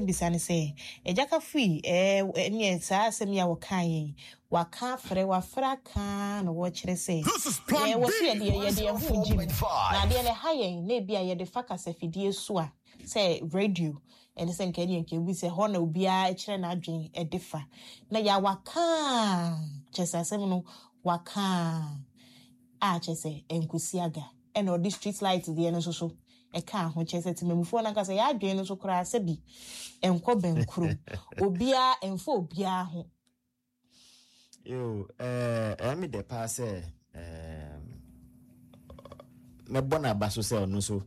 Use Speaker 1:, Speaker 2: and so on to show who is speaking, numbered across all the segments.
Speaker 1: Bisa ne sɛ, Agya Kafui, ɛɛ, ɛneɛ saa asɛm yi a wɔkaeɛ yi, waka afrɛ, wafrɛ aka ara na wɔkyerɛ sɛ, yɛn, wɔ so yɛde, yɛde yɛn ho regye mu. Na adeɛ no ɛha yɛn, na ebia yɛde fa kasafidie so a, sɛ radio, ɛne sɛ nka ɛneɛ nka ebi sɛ hɔ na obiara kyerɛ n'adwene de fa. Na yɛ a waka ara, kyerɛ sɛ asɛm no, waka ara a kyerɛ sɛ ɛnkɔsi aga. Ɛna ɔde street light deɛ no nso so ɛkaa ho, kyerɛ sɛ temamufoɔ no ankasa yɛn adwene no so koraa sɛbi ɛnkɔ bɛnkurom. Obiara, ɛmfa obiara ho.
Speaker 2: Yo, eh, ɛyɛ me dɛ paa sɛ eh, mɛbɔ n'aba so sɛ ɔno nso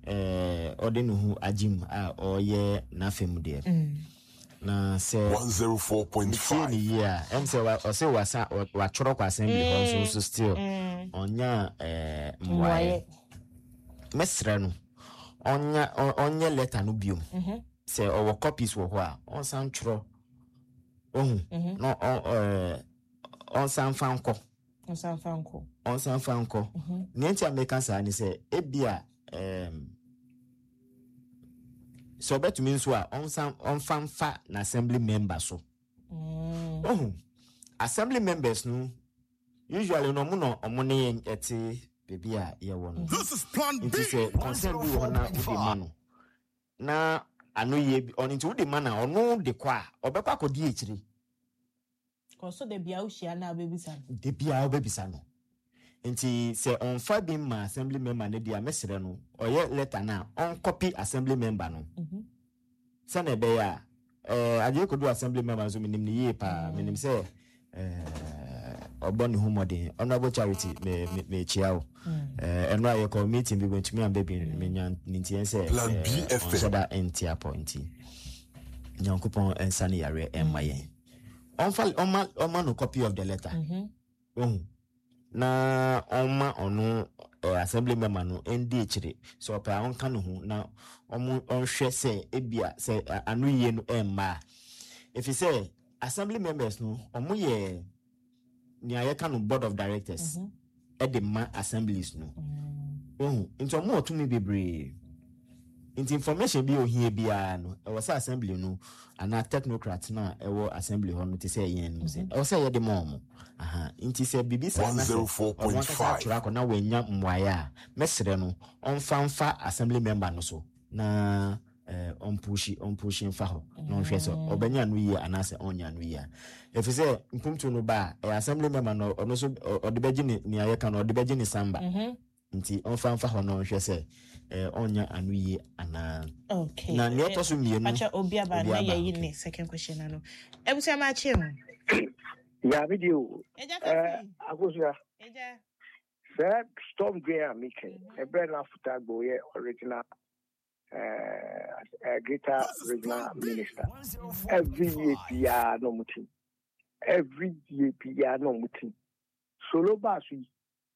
Speaker 2: eh, ɔde ne ho agye mu a ɔreyɛ n'afa mu deɛ. Mm. Na sɛ metie ne yie a, ɛm sɛ ɔse wasa watwerɛ kɔ assembly hɔ nso nso still mm. ɔnya eh, mmuaeɛ. Mɛsrɛ no ɔnya ɔnyɛ letter no biom. Mm-hmm. Sɛ ɔwɔ copies wɔ hɔ a ɔnsan twerɛ ohu mhm. na ɔnsan fa nkɔ
Speaker 1: ɔnsan fa nkɔ
Speaker 2: ɔnsan fa nkɔ mhm. nea nti a meka saa ne sɛ ebia sɛ ɔbɛtumi nso a ɔnsan ɔnfa nfa na assembly member so mm. ohu assembly members no usually no ɔmo na ɔmo ne yɛn ɛte beebi a yɛwɔ no nti sɛ concern bi wɔ hɔ na wode ma no na ano yie bi ɔno nti wode ma na ɔno de kɔ a ɔbɛkɔ akɔdi akyire.
Speaker 1: Kɔ so da bia wohyia no a wobɛbisa no.
Speaker 2: Da bia wobɛbisa no. Nti sɛ ɔmfa bi mma assembly member no deɛ a mɛsrɛ no ɔyɛ letter no a ɔnkɔpi assembly member no mhm. sɛnea ɛbɛyɛ a ɛɛ eh, adeɛ kɔdu assembly member nso menim no yie paa mm. menim sɛ ɛɛ eh, ɔbɔ ne ho mmɔden honorable charity me me mekyia wo mm. eh, ɛno a yɛkɔ meeting bi wɔntumi amba bi menya ne ntiɛ sɛ ɔnhyɛ da nte apɔ nti nyankopɔn nsa ne yareɛ ɛmma yɛn ɔmfa ɔma ɔma no copy of the letter mm-hmm. ohu na ɔma ɔno eh, assembly member no ɛndi akyire sɛ ɔpɛ a ɔnka ne ho na ɔmo ɔnhwɛ sɛ ebia sɛ ano yie no ɛmma a ɛfiri sɛ assembly members no ɔmo yɛ nea yɛka no board of directors de ma assemblies no. Wohu? Nti wɔn wɔ tumi bebree. Nti information bi a ohia biara no, ɛwɔ sɛ assembly no anaa technocrat no a ɛwɔ assembly hɔ no te sɛ yɛn no sɛ ɛwɔ sɛ yɛde ma wɔn. Aha. Nti sɛ biribi saa na sɛ ɔno ankasa atwerɛ akɔ na wanya mmuaeɛ a, mɛsrɛ no ɔmfa mfa assembly member no so na eh, ɔmpuhyi ɔmpuhyi mfa hɔ na ɔnhwɛ sɛ mm. ɔbɛnya ano yie anaasɛ ɔnnya ano yie a ɛfiri sɛ mpuntu no ba a ɛyɛ assembly member no ɔno nso ɔde bɛgye ne nea yɛka no ɔde bɛgye ne samba mhm. nti ɔmfa mfa hɔ na ɔnhwɛ sɛ eh, ɔnnya ano yie anaa
Speaker 1: okay.
Speaker 2: na nea ɛtɔ so mmienu
Speaker 1: obi aba na yɛyi ne second question ano abusua ma akye ho
Speaker 3: ya me deɛ o eh, akosua sɛ storm drain a meka ɛberɛ no afota gbɔ yɛ original uh, greater regional minister every year biara na ɔmo ti every year biara na ɔmo ti solo baa so yi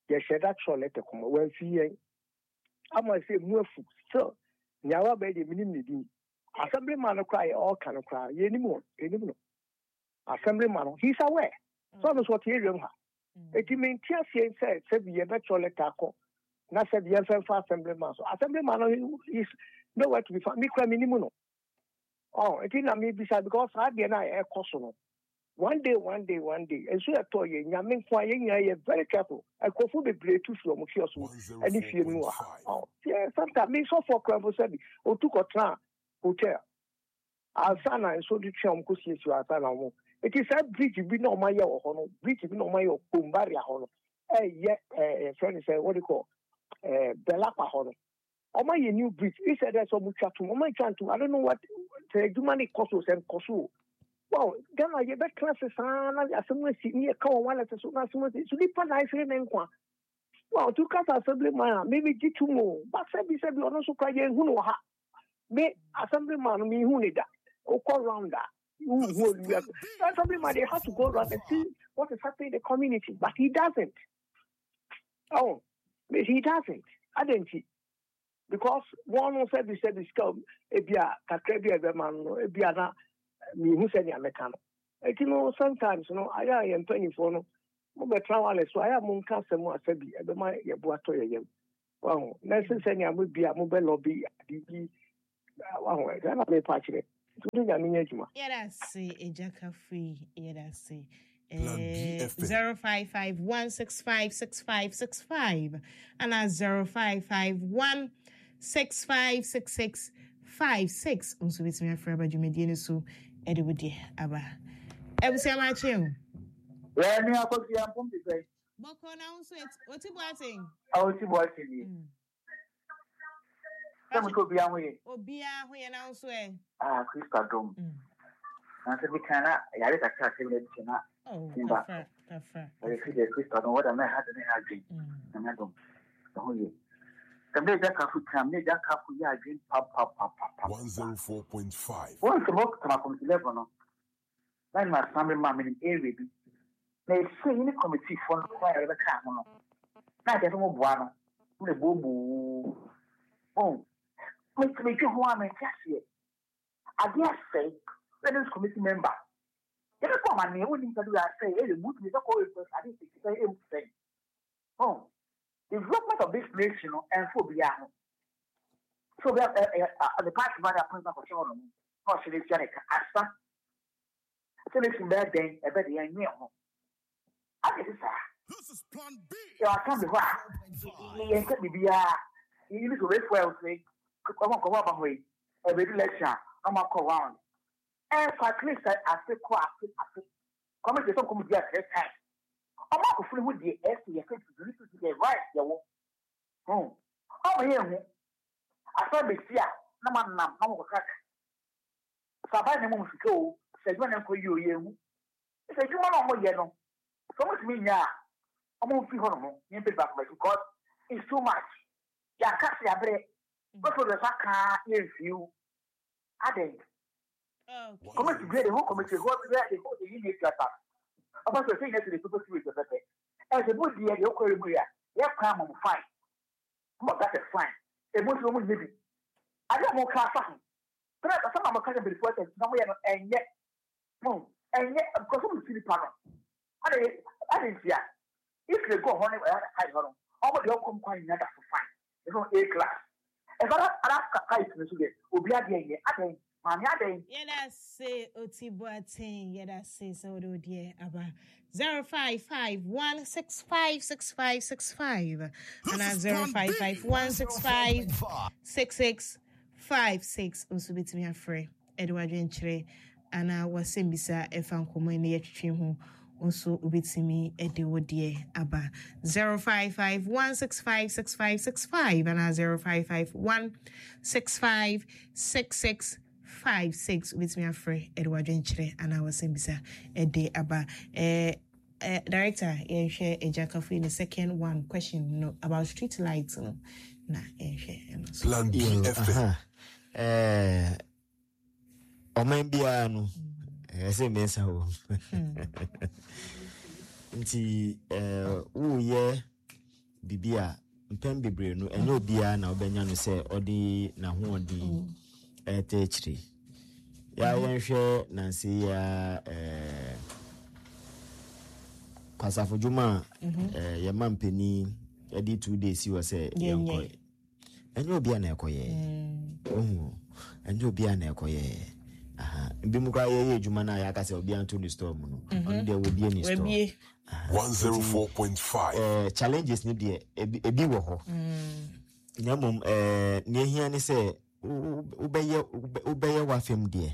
Speaker 3: yɛhyɛ da kyerɛ lɛtɛ kɔma wɔamfi yɛn ama sɛ mu afu still nea waba yi deɛ menim ne din assembly man no koraa yɛ ɔɔka no koraa yɛnim wɔn yɛnim no Assembly man no, he is aware. Sɛ ɔno nso ɔte area mu ha. Eti mente aseɛ sɛ sɛbi yɛbɛtwerɛ letter akɔ na sɛbi yɛmfa mfa assembly man so. Assembly man no is nowhere to be found. Me kura me nim no. Oh, eti na me bisa because saa deɛ na ɛkɔ so no. One day, one day, one day. Nso ɛtɔ yɛ nyame nko a yɛn nyinaa yɛ very careful. Nkurɔfoɔ bebree tu firi wɔn kiosk mu ɛne fie mu wɔ ha. Oh, yeah, sometimes me sɔfoɔ kura mpo sɛbi otu kɔtena hotel. Ansa na nsuo no twe a wɔn kɔ siesie ansa na wɔn eti saa bridge bi na wɔn ayɛ wɔ hɔ no bridge bi na wɔn ayɛ wɔ Kombaria hɔ no ɛyɛ ɛɛ yɛfrɛ no sɛ wɔde kɔ ɛɛ Bɛlakwa hɔ no wɔn ayɛ new bridge instead dɛ sɛ wɔn twa tum wɔn atwa ntum I don't know what sɛ adwuma no kɔ so sɛ nkɔ so o wow Ghana yɛ bɛ tena se saa na asɛm asi ne yɛ ka wɔn wallet so na asɛm asi so nipa na ahwere ne nkwa wow tu kasa assembly man a mímí gye tum o ba sɛbi sɛbi ɔno nso kora yɛn hu no wɔ ha. Me assembly man me hu ne da. Okɔ round a who who assembly man they have to go round and see what is happening in the community but he doesn't. Oh, he doesn't. Adɛn because wɔn no sɛbi sɛbi sika ebi a kakra bi a ɛbɛma no ebi a na mihu sɛ nea mɛka no eti no sometimes no ayɛ a yɛn mpanyinfoɔ no mo bɛtena wale so ayɛ a mo nka asɛm a sɛbi ɛbɛma yɛ bo atɔ yɛ yam. Wahu? Na ɛsɛ sɛ nea mo bi a mobɛ lɔbi ade bi wahu ɛsɛ na mepa kyerɛ. Nti wode Nyame nyɛ adwuma.
Speaker 1: Yɛda ase Agya Kafui, yɛda ase.
Speaker 4: Plan B FM.
Speaker 1: 0551656565 ana 0551656656 nso bɛtumi afrɛ aba dwumadie no so ɛde wo deɛ aba. Abusua makye o.
Speaker 5: Yɛ ne akɔsi ampom te sɛ.
Speaker 1: Bɔkɔ na wo nso oti boaten.
Speaker 5: A oti boaten ni. Sɛ mo sɛ obiara ho yɛ.
Speaker 1: Obiara ho yɛ na wo nso ɛ.
Speaker 5: Ah, Kristo adom. Na sɛ bi kan na yare kakra sɛ bi na bi na.
Speaker 1: Oh,
Speaker 5: Mba.
Speaker 1: kafra, kafra.
Speaker 5: Ɛyɛ fi deɛ Kristo adom wɔda mɛ ha de ne ha adwen. Na me adom. Ɛho yɛ. Sɛ mɛ gya kafo tam ne gya kafo yɛ adwen pa pa pa pa pa.
Speaker 4: 104.5.
Speaker 5: Wɔn sɛ mo tama committee level no. Na nyuma assembly ma menim area bi. Na ɛsɛ yi ne committee fo no kwan a yɛbɛka ho no. Na akyɛ sɛ mo boa no. Mo na booboo. Oh. Metumi dwe ho a mente aseɛ. Adeɛ asɛe. Sɛ this committee member. Yɛbɛkɔ amanneɛ wonim sɛ de asɛe ɛyɛ mu tumi bɛkɔ ade sɛ ɛmu sɛe. Oh. Development of this nation no ɛmfa obiara ho. So obi the party ma de appointment akɔhyɛ hɔ nom na ɔhyɛ no atua ne ka asa. Sɛ nation bɛyɛ dɛn ɛbɛ de yɛn nwene ho. Ade te saa. Yɛ assembly hɔ a yɛn nka biribiara. Yɛyi ne sɛ obefu a ɔsɛ kɔmɔ nkɔmɔ aba hɔ yi ɛbɛdi lecture a na ɔmo akɔ round. Ɛfa at least afe kɔ afe afe. Kɔmiti sɛ nkɔmɔ di a three times. Ɔmo akofo no ho deɛ ɛsɛ yɛ fɛ tutu ne tutu deɛ right yɛ wɔ. Hmm. Ɔmo yɛ hu. Asɛm bɛsi a na mo anam na mo kɔkaka. Sɛ aban na ɛma mo sika o, sɛ adwuma na ɛnkɔ yie o, yɛ hu. Sɛ adwuma na ɔmo yɛ no, sɛ ɔmo tumi nyɛ a, ɔmo mfi hɔ nom ne mpɛ baako bɛsi because it's too much. Yɛaka sɛ yɛabrɛ. Bɛfo deɛ sa kaa yɛ mfiw. Adɛn? Committee bi the whole committee whole the whole the unit kasa. Ɔba sɛ sɛ nyɛ sɛ de pɛpɛ fi wɔ pɛpɛ. Ɛsɛ bu deɛ deɛ ɔkɔ emu ya. Yɛ kwan mom fine. Mo got a fine. Emu nso mo nyɛ bi. Ade a mo ka afa ho. Sɛ asɛm a mo ka sɛ mpanyinfoɔ sɛ na mo yɛ no ɛnyɛ. Mo ɛnyɛ because mo si nipa no. Ade ade ntia. If they go hɔ ne ɛyɛ high hɔ no. Ɔmo deɛ ɔkɔm kwan nyina da so fine. Ɛfɛ A class. Ɛfɛ ara ara pipe no so deɛ obi adeɛ nyɛ adɛn maame adɛn.
Speaker 1: Yɛda se Oti Boateng yɛda se sɛ wode wo deɛ aba 0551656565 anaa 0551656656 nso bɛtumi afrɛ ɛde w'adwenkyerɛ anaa w'asɛmbisa ɛfa nkɔmmɔ yi ne yɛtwetwe ho nso wobɛtumi de wo deɛ aba 0551656565 anaa 0551656656 wobɛtumi afrɛ ɛde w'adwenkyerɛ anaa w'asɛmbisa ɛde aba. Eh, director, yɛnhwɛ Agya Kafui ne second one question no about street lights no na yɛnhwɛ ɛno so.
Speaker 4: Plan B
Speaker 2: Yo,
Speaker 4: FM.
Speaker 2: aha. Eh, ɔman biara no ɛsɛ mmiɛnsa wɔ mu. Nti eh, woyɛ biribi a mpɛn bebree no ɛnyɛ obiara na wobɛnya no sɛ ɔde n'ahoɔden ɛtɛ akyire. Ya yɛnhwɛ nanse yi a eh, kwasafo dwuma a eh, yɛma mpanin ɛde 2 days si hɔ sɛ
Speaker 1: Yɛnyɛ.
Speaker 2: yɛnkɔ. Ɛnyɛ obiara na ɛkɔyɛ. Ohu, ɛnyɛ obiara na ɛkɔyɛ. Aha. Bi mu koraa yɛyɛ adwuma no a yɛaka sɛ obiara nto ne store mu no, ɔno deɛ wɔbie ne store.
Speaker 1: Wabie.
Speaker 2: Aha.
Speaker 4: 104.5.
Speaker 2: Challenges no deɛ ebi wɔ hɔ. Na mmom nea ehia ne sɛ wobɛyɛ w'afɛm deɛ.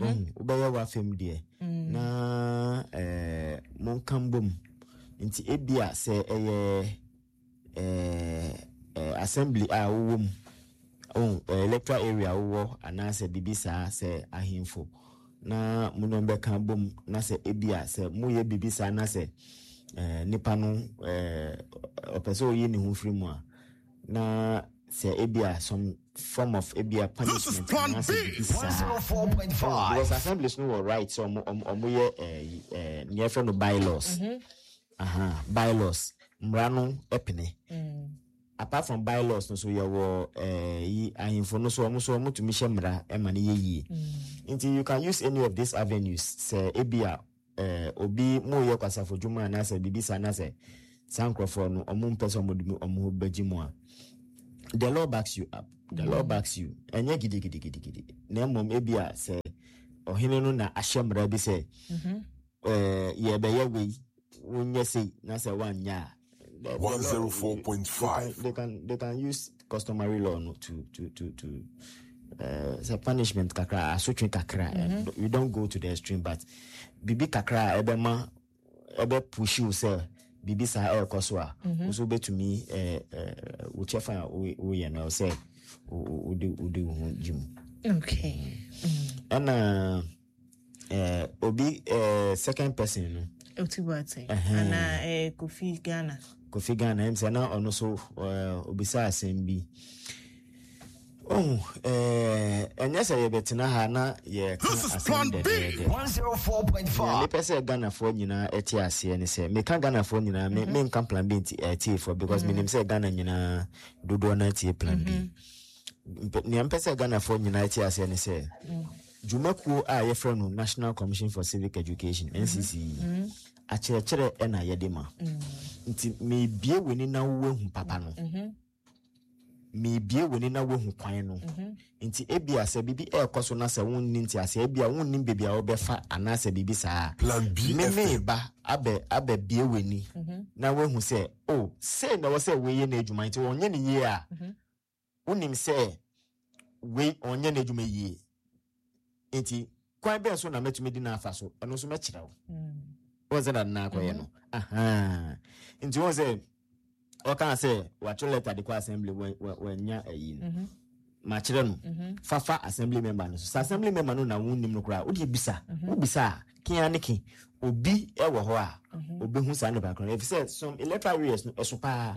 Speaker 2: Ohu, wobɛyɛ w'afɛm deɛ na monka mbom. Nti ebia sɛ ɛyɛ assembly a wowɔ mu, oh, electoral area wowɔ anaasɛ biribi saa sɛ ahemfo na mo ne wɔn bɛka bom na sɛ ebia sɛ moyɛ biribi saa na sɛ nipa no ɔpɛ sɛ ɔyi ne ho firi mu a na sɛ ebia some form of ebia
Speaker 4: This is
Speaker 2: punishment
Speaker 4: Plan
Speaker 2: anaasɛ
Speaker 4: B.
Speaker 2: biribi saa.
Speaker 6: 104.5.
Speaker 2: Oh, because assemblies no wɔ right sɛ ɔmo yɛ nea yɛfrɛ no bylaws. Aha, bylaws mmara no pene. Apart from bylaws no so yɛwɔ yi ahemfo no so ɔmo so ɔmo tumi hyɛ mmara ɛma no yɛ yie. Nti you can use any of these avenues sɛ ebia obi mo yɛ kwasafo dwuma anaasɛ biribi saa na sɛ saa nkurɔfoɔ no ɔmo mpɛ sɛ ɔmo de ɔmo ho bɛgye mu a. The law backs you up. The law backs you. Ɛnyɛ gidigidigidigidi. Na mmom ebi a sɛ ɔhene no na ahyɛ mmara bi sɛ ɛɛ yɛbɛyɛ wei, wonyɛ sei na sɛ woanyɛ a. The law,
Speaker 4: 104.5.
Speaker 2: they can use customary law no to sɛ punishment kakra, asotwe kakra. You don't go to the extreme, but biribi kakra a ɛbɛma ɛbɛ push wo sɛ biribi saa ɛrekɔ so a, wo nso wobɛtumi wo kyɛfa a woyɛ no, ɛwɔ sɛ wode wo ho gye mu. Ɛna obi second person no.
Speaker 1: Oti Boateng anaa Kofi Ghana.
Speaker 2: Kofi Ghana, ɛm sɛ na ɔno so obisa asɛm bi. Oh, ɛnyɛ sɛ yɛbɛtena ha na yɛka
Speaker 4: This is
Speaker 2: asɛm
Speaker 4: Plan B.
Speaker 2: dɛdɛɛdɛ. Nea
Speaker 6: 104.5.
Speaker 2: mepɛ sɛ Ghanafoɔ nyinaa ɛte aseɛ ne sɛ meka Ghanafoɔ nyinaa, me menka Plan B nti ɛtiefoɔ, because menim sɛ Ghana nyinaa dodoɔ no atie Plan B. Nea mpɛ sɛ Ghanafoɔ nyinaa ɛte aseɛ ne sɛ dwumakuo a yɛfrɛ no National Commission for Civic Education, NCCE, akyerɛkyerɛ ɛna yɛde ma. Nti mebie w'ani na woahu papa no, mebie w'ani na woahu kwan no. Nti ebia sɛ biribi ɛrekɔ so na sɛ wonni nteaseɛ, ebia wonnim baabi a wobɛfa anaasɛ biribi saa,
Speaker 4: Plan B
Speaker 2: me
Speaker 4: FM.
Speaker 2: meba abɛbie w'ani na woahu sɛ, o, sei na ɛwɔ sɛ wei yɛ n'adwuma. Nti ɔnyɛ ne yie a, wonim sɛ wei ɔnyɛ n'adwuma yie, nti kwan bɛn so na mɛtumi di n'afa so? Ɛno nso mɛkyerɛ wo. Wɔn sɛ na akɔyɛ no aha. Nti wɔn sɛ ɔkaa sɛ watwerɛ letter de kɔ assembly, wɔanya ayi no, makyerɛ no fafa assembly member no so. Sɛ assembly member no na wonnim no koraa, wode bisa, wobisa a, kea ne ke obi wɔ hɔ a obɛhu saa nipa korɔ no, ɛfiri sɛ some electoral areas no ɛso paa.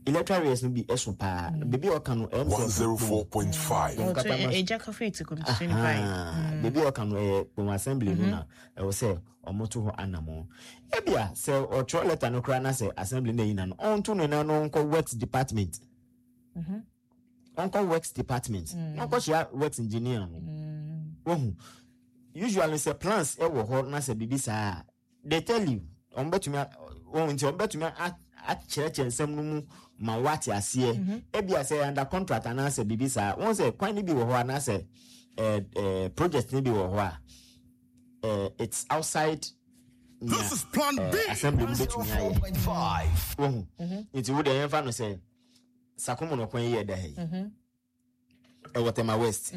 Speaker 2: Electoral areas no bi ɛso paa. Baabi a ɔka no, ɛyɛ sɛ
Speaker 4: 104.5.
Speaker 1: Ɛgya Kofi to Committee 25.
Speaker 2: Baabi a ɔka no, ɛyɛ Kpone assembly no na ɛwɔ sɛ ɔmo to hɔ anammɔn. Ebia sɛ ɔtwerɛ letter no koraa na sɛ assembly no ayi na no, ɔnto no na no ɔnkɔ works department, ɔnkɔ works department na ɔnkɔhyia works engineer no. Wohu, usually sɛ plans ɛwɔ hɔ na sɛ biribi saa, they tell you, ɔmo bɛtumi wɔn nti ɔmo bɛtumi akyerɛkyerɛ nsɛm no mu ma wate aseɛ. Ebia sɛ under contract anaasɛ biribi saa, wɔn sɛ kwan no bi wɔ hɔ anaasɛ ɛɛ ɛɛ project no bi wɔ hɔ a, it's outside nea
Speaker 4: This is Plan B.
Speaker 2: assembly no bɛtumi ayɛ.
Speaker 6: 104.5.
Speaker 2: Wohu, nti wo deɛ, yɛmfa no sɛ Sakomo no kwan yi yɛ da ha yi, ɛwɔ Tema West,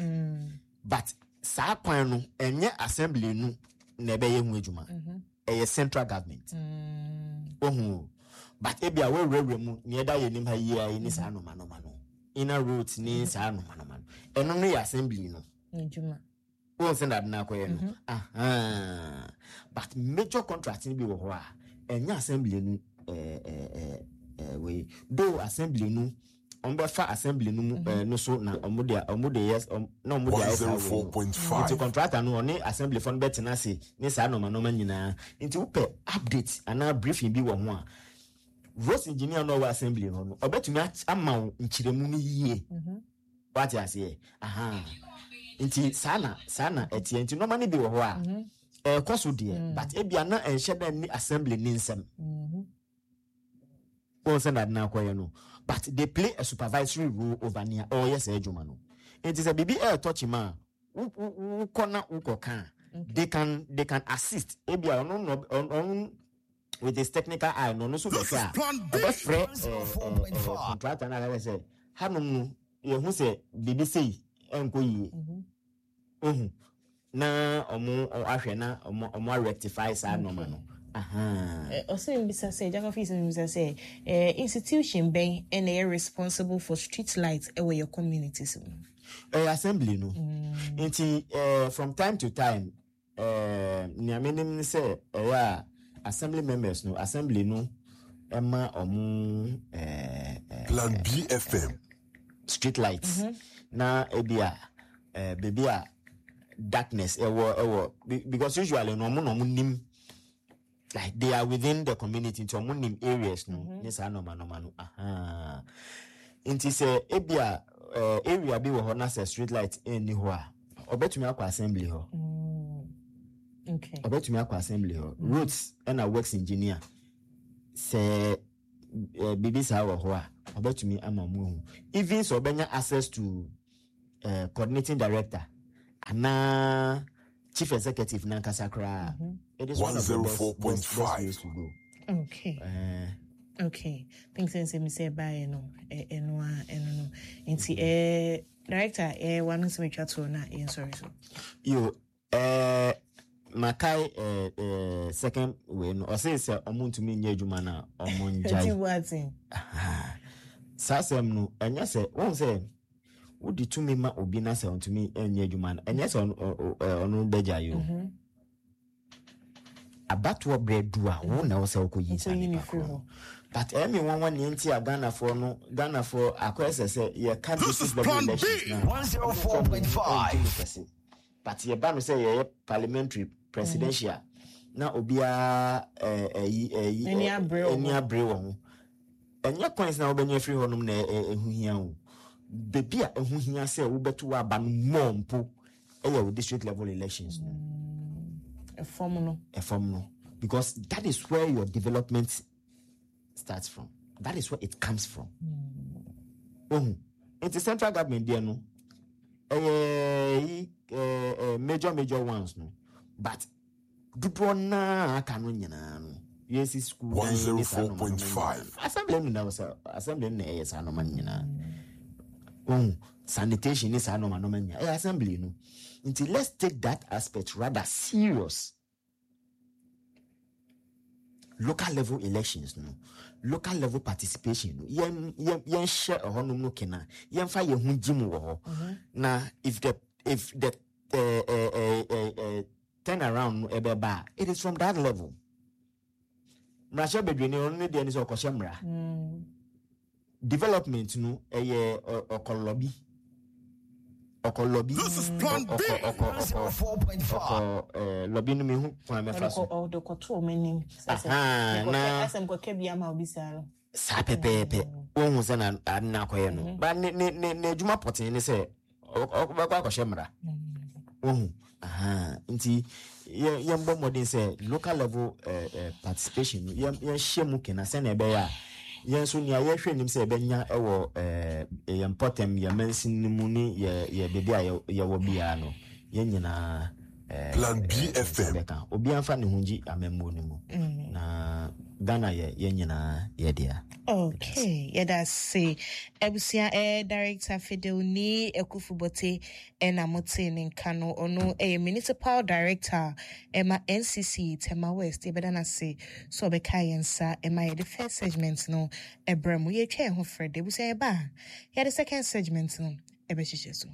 Speaker 2: but saa kwan no, ɛnyɛ assembly no na ɛbɛyɛ ho adwuma, ɛyɛ central government. Wohu o, but ebi a wɔawurawura mu nea ɛda yɛ anim ha yi a yi ne saa nomanoma no, inner roads ne saa nomanoma no, ɛno no yɛ assembly no
Speaker 1: adwuma.
Speaker 2: Wɔn sɛ nade no akɔyɛ no aha, but major contract no bi wɔ hɔ a ɛnyɛ assembly no. ɛɛ ɛɛ ɛɛ wei though, assembly no, wɔn bɛfa assembly no mu no so na wɔn de yɛ na wɔn de ayɛ saa wei no.
Speaker 4: 104.5.
Speaker 2: Nti contractor no, ɔne assembly fo no bɛtena ase ne saa nɔɔma nɔɔma nyinaa. Nti wopɛ update anaa briefing bi wɔ ho a, roads engineer no a ɔwɔ assembly hɔ no, ɔbɛtumi ama wo nkyerɛmu no yie. Wate aseɛ? Aha, nti saa na ɛteɛ. Nti nɔɔma no bi wɔ hɔ a ɛɛkɔ so deɛ, but ebia na ɛnhyɛ dɛ ne assembly ne nsɛm wɔn sɛ nade no akɔyɛ no, but they play a supervisory role over nea ɔreyɛ saa adwuma no. Nti sɛ biribi ɛɛtɔ kyima a, wokɔ na wokɔ ka a, they can assist. Ebia ɔno na ɔno with his technical eye no, ɔno nso bɛhwɛ a, ɔbɛfrɛ contractor no akaka sɛ hanom no, yɛhu sɛ biribi sei ɛnkɔ yie. Ohu na ɔmo ahwɛ na ɔmo arectify saa nneɛma no. Aha.
Speaker 1: Ɔsɛ mbisa sɛ, Jacob sɛ mbisa sɛ institution bɛn ɛna ɛyɛ responsible for street light ɛwɔ your communities mu?
Speaker 2: Ɛyɛ assembly no. Nti from time to time, nea menim ne sɛ ɛyɛ a assembly members no, assembly no ɛma ɔmo
Speaker 4: Plan BFM.
Speaker 2: street lights na ebi a beebi a darkness ɛwɔ because usually no, ɔmo na ɔmo nim, like they are within the community, nti ɔmo nim areas no ne saa nɔɔma nɔɔma no. Aha, nti sɛ ebi a area bi wɔ hɔ na sɛ street light ɛnni hɔ a, ɔbɛtumi akɔ assembly hɔ. Ɔbɛtumi akɔ assembly hɔ, roads ɛna works engineer, sɛ Biribi saa wɔ hɔ a, ɔbɛtumi ama ɔmo ahu. Even sɛ ɔbɛnya access to coordinating director anaa chief executive nankasa koraa, it is one of the best ways to go.
Speaker 1: Okay. Okay. Think sɛ nsɛm sɛ ɛbaeɛ no, ɛno a ɛno no. Nti director, wano nsɛm atwa toɔ na yɛnsɔre so.
Speaker 2: Yo, makae second wei no, ɔse sɛ ɔmo ntumi nyɛ adwuma no a, ɔmo ngyae. Saa asɛm no, ɛnyɛ sɛ wɔn sɛ wode tumi ma obi na sɛ ɔntumi nyɛ adwuma no, ɛnyɛ sɛ ɔno bɛgyae o. Abatoɔ berɛ du a, wo na ɛwɔ sɛ wokɔyi saa nipa korɔ no. But ɛyɛ me nwanwa nea nti a Ghanafoɔ no, Ghanafoɔ akɔyɛ sɛ sɛ yɛka district level elections no a, ɔmo mfa ɔmo ho nto mu kɛse. But yɛba no sɛ yɛyɛ parliamentary, presidential, na obiara ɛyi ɛyi ani abere wɔ ho. Ɛnyɛ coins na wobɛnya afiri hɔnom na ɛho hia o. Baabi a ɛho hia sɛ wobɛto w'aba no more mpo ɛyɛ wo district level elections no.
Speaker 1: Ɛfam no.
Speaker 2: Ɛfam no. Because that is where your development starts from. That is where it comes from. Ohu. Nti central government deɛ no, ɛyɛ yi major major ones no. But dodoɔ naa aka no nyinaa no, yɛsi school dan ne saa nneɛma no nyinaa. Assembly no na sɛ assembly no na ɛyɛ saa nneɛma no nyinaa. Ohu. Sanitation ne saa nneɛma nneɛma nyinaa ɛyɛ assembly no. Nti let's take that aspect rather serious. Local level elections no, local level participation no, yɛn yɛn yɛnhyɛ ɛhɔnom no kena, yɛnfa yɛn ho gyi mu wɔ hɔ. Na if the turn around no ɛbɛba a, it is from that level. Mmarahyɛ badwani, ɔno ne deɛ ne sɛ ɔkɔhyɛ mmara. Development no, ɛyɛ ɔkɔ lobby, ɔkɔ lobby, ɔkɔ ɔkɔ ɔkɔ ɔkɔ lobby no, mehu kwan mɛfa so.
Speaker 1: Ɔde kɔto ɔmo anim.
Speaker 2: Na
Speaker 1: asɛm kɔkɛ bi ama obi saa no.
Speaker 2: Saa pɛpɛɛpɛ, wohu sɛ na ade no akɔyɛ no ba ne ne ne n'adwuma pɔtee ne sɛ ɔbɛkɔ akɔhyɛ mmara. Wohu? Nti yɛmbɔ mmɔden sɛ local level participation no, yɛnhyɛ mu kena sɛnea ɛbɛyɛ a yɛn nso nea yɛhwɛ nim sɛ yɛbɛnya wɔ yɛn mpɔtam, yɛn mansin no mu ne yɛ baabi a yɛwɔ biara no, yɛn nyinaa
Speaker 4: Plan B FM.
Speaker 2: Bɛka obiara mfa ne ho ngye amammuo no mu na Ghana yɛ yɛn nyinaa yɛ dea.
Speaker 1: Okay, yɛda ase. Abusua, Director Fidel Nii Akuffo Bortey ɛna motee ne nka no. Ɔno ɛyɛ Municipal Director ɛma NCC Tema West. Yɛbɛda no ase sɛ ɔbɛka yɛn nsa ɛma yɛde first segment no ɛbrɛ mu. Yɛtwa yɛn ho frɛ de. Abusua, yɛba a, yɛde second segment no ɛbɛhyehyɛ so.